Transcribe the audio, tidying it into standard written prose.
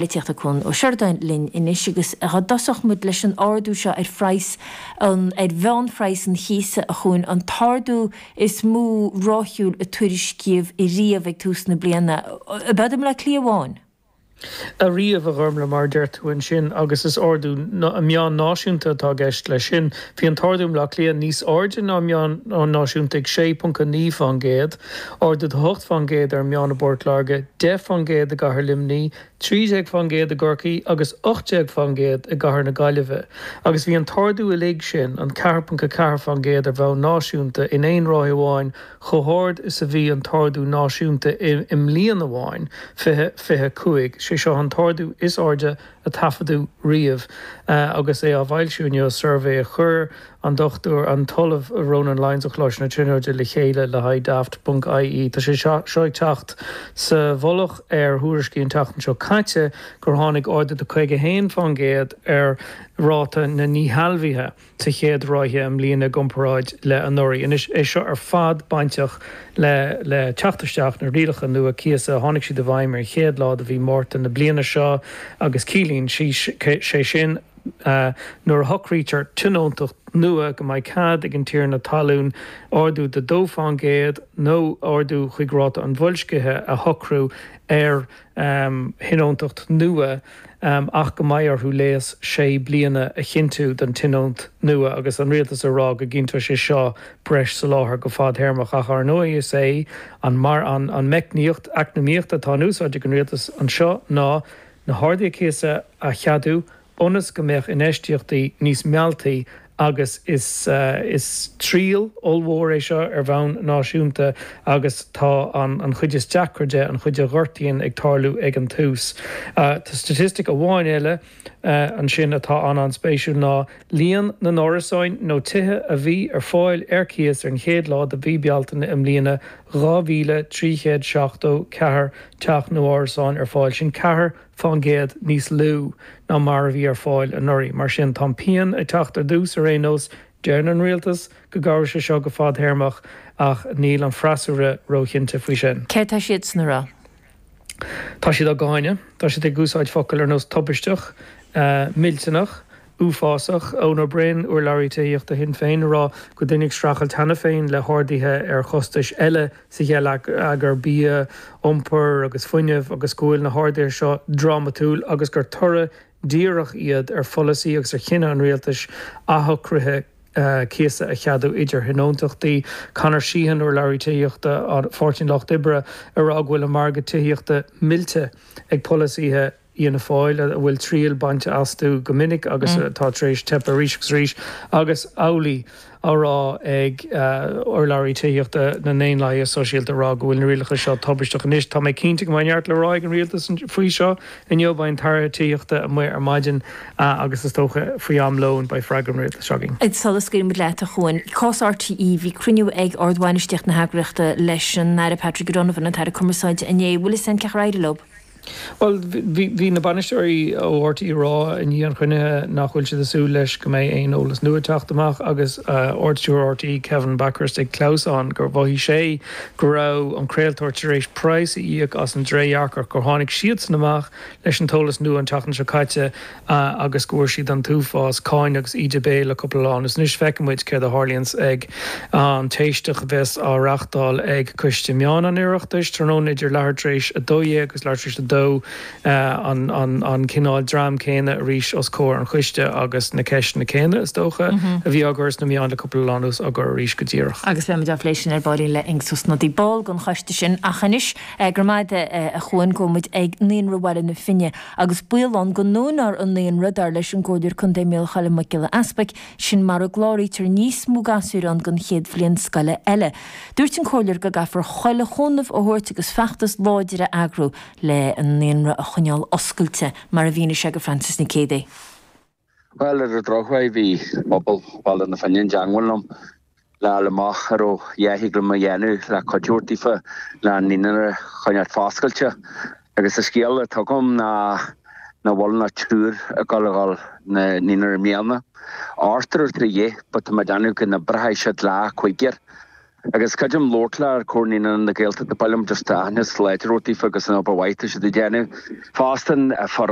Polaitíochta Cuan Ó Seireadáin linn anois agus dá dtosódh muid leis an ardú seo ar phraghas an, ar mheánphraghas an chíosa a Chuain, an t-ardú is mó ráithiúil a tuairiscíodh riamh ag tús na bliana, ab ead i mBleá Cliath amháin? Ariamh, a Ghormlaith, mar a deir tú ansin, agus is ardú meán náisiúnta atá i gceist leis sin. Bhí an t-ardú i mBleá Cliath níos airde ná an meán náisiúnta ag 6.9%, ardú de 8% ar an meán i bPort Láirge, 10% i gcathair Luimnigh, 13% i gCorcaigh agus 18% i gcathair na Gaillimhe. Agus bhí an t-ardú uilig sin, an 4.4% ar bhonn náisiúnta, in aon ráithe amháin, chomh hard is a bhí an t-ardú náisiúnta i mbliain amháin, 2025. Sé seo an t-ardú is airde a taifeadadh riamh agus é á bhfoilsiú inniu, suirbhé a chuir an Dr. an tOllamh Ronan Lyons ó Choláiste na Tríonóide le chéile le haghaidh Daft ponc ie. Tá sé seo ag teacht sa mhullach ar thuairiscí an tseachtain seo caite gur tháinig ardú de 51% ar ráta na ndíshealbhuithe sa chéad ráithe i mbliana i gcomparáid le anuraidh. Anois, é seo ar fad bainteach le le teacht isteach na rialacha nua cíosa. Tháinig siad i bhfeidhm ar an chéad lá de mhí Márta na bliana seo agus ciallaíonn sé sin, Nuair a shocraítear tionóntacht nua, go mbeidh cead ag an tiarna talún ardú de 2% nó ardú chuig ráta an bhoilscithe a shocrú ar thionóntacht nua ach go mbeidh orthu léas sé bliana a chinntiú don tionónt nua agus an rialtas ag rá go gcinnteoidh sé seo breis soláthair go fadthéarmach. Ach ar ndóigh is é an meicníocht eacnamaíochta atá in úsáid ag an rialtas anseo ná na harduithe cíosa a cheadú ionas go mbeadh infheistíochtaí níos mealltaí agus is is triail ollmhór é seo ar bhonn náisiúnta agus tá an an chuid is deacra de, an chuid a ghortaíonn ag tarlú ag an tús. Tá staitistic amháin eile ansin atá an-an-spéisiúil ná líon na n-árasáin nó tithe a bhí ar fáil ar cíos ar an chéad lá de mhí Bealtaine i mbliana, 2,374 teach nó árasán ar fáil, sin 4% níos lú ná mar a bhí ar fáil anuraidh. Mar sin, tá an pian ag teacht ar dtús ar aon nós. Deireann an rialtas go gcabhróidh sé seo go fadthéarmach ach níl an freasúra róchinnte faoi sin. Céard tá siadsan a rá? Tá siad á gcáineadh. Tá siad ag úsáid focail ar nós tubaisteach, millteanach, uafásach. Eoin Ó Broin, urlabhraí tithíochta Shinn Féin, ag rá go bhfuil daoine ag streachailt cheana féin le harduithe ar chostais eile sa gheilleagar, bia, iompar agus fuinneamh, agus go bhfuil na harduithe seo drámatúil agus gur toradh díreach iad ar pholasaí agus ar chinneadh an rialtais athshocruithe cíosa a cheadú idir thionóntachtaí. Conor Sheehan, urlabhraí tithíochta Pháirtí an Lucht Oibre, ag rá go bhfuil an margadh tithíochta millte ag polasaithe Fhianna Fáil, a bhfuil triail bainte astu go minic agus atá tar éis teipeadh arís agus arís, agus amhlaidh á rá ag urlabhraí tithíochta na nDaonlathaithe Sóisialta ag rá go bhfuil na rialacha seo tubaisteach. Anois, tá mé cinnte go mbeidh neart le rá ag an rialtas faoi seo inniu. Beidh an tAire Tithíochta amuigh ar maidin agus is dócha faoi am lóin beidh freagra an rialtais againn. Sula scaoileann muid leat, a Chuain, cás RTÉ, bhí cruinniú ag ardbhainistíocht na heagraíochta leis an Aire Patrick O'Donovan, an tAire Cumarsáide, inné. Bhfuil fhios a'inn cén chaoi ar éirigh leo? Bhuel, bhí na bainisteoirí ó RTÉ ag rá i ndiaidh an chruinnithe nach bhfuil siad ag súil leis go mbeidh aon eolas nua ag teacht amach agus Ardstiúrthóir RTÉ Kevin Bakhurst ag clamhsán gur mhothaigh sé go raibh an craoltóir tar éis praghas a íoc as an dtrédhearcacht gur tháinig siadsan amach leis an t-eolas nua an tseachtain seo caite agus go bhfuair siad an t-uafás cáineadh agus íde béil le cúpla lá anuas. Anois feicfidh muid céard a tharlaíonns ag an t-éisteacht a bheas á reachtáil ag Coiste Meán an Oireachtais tráthnóna idir leathuair tar éis 12 agus leathuair tar éis 2, an cineál dream céanna arís os comhair an choiste agus na ceisteanna céanna, is dócha, a bhí á gcur sna meáin le cúpla lá anuas á gcur arís go díreach. Agus beimid á phlé sin ar baillín le Aengus Ó Snodaigh, ball den choiste sin. Ach anois, go raibh maith agat a Chuain, gabhfaidh muid ag Naíonra Bhaile na Finne. Agus baol ann go ndúnfar an naíonra, dar leis an gComhairleoir Contae Mícheál Choilm Mac Giolla Easpaig, sin mara gcláraítear níos mó gasúir ann don chéad bhliain scoile eile. Dúirt an Comhairleoir go gcaithfear chuile chúnamh a thabhairt agus feachtas láidir a eagrú le an naíonra a choinneáil oscailte, mar a mhínigh sé go Frances Nic Géadaigh. Bhuel, ar an drochuair bhí pobal Bhaile na Finne i dteangmháil liom le fháil amach an raibh a dhath thig liom a dhéanamh le cuidiú a thabhairt daofa le an naíonra a choinneáilt foscailte. Agus an scéal atá agam ná nach bhfuil ach triúr ag dul a dhul na naíonra i mbliana. Ochtar ar trí dheich, but tá mé ag déanamh go n-oibreoidh siad le cúigear. Agus creidim labhairt le Comhar Naíonanna na Gaeltachta, ba mhaith liom just aitheantas láidir a thabhairt daofa agus an obair mhaith atá siad ag déanamh. Fosta an foireann.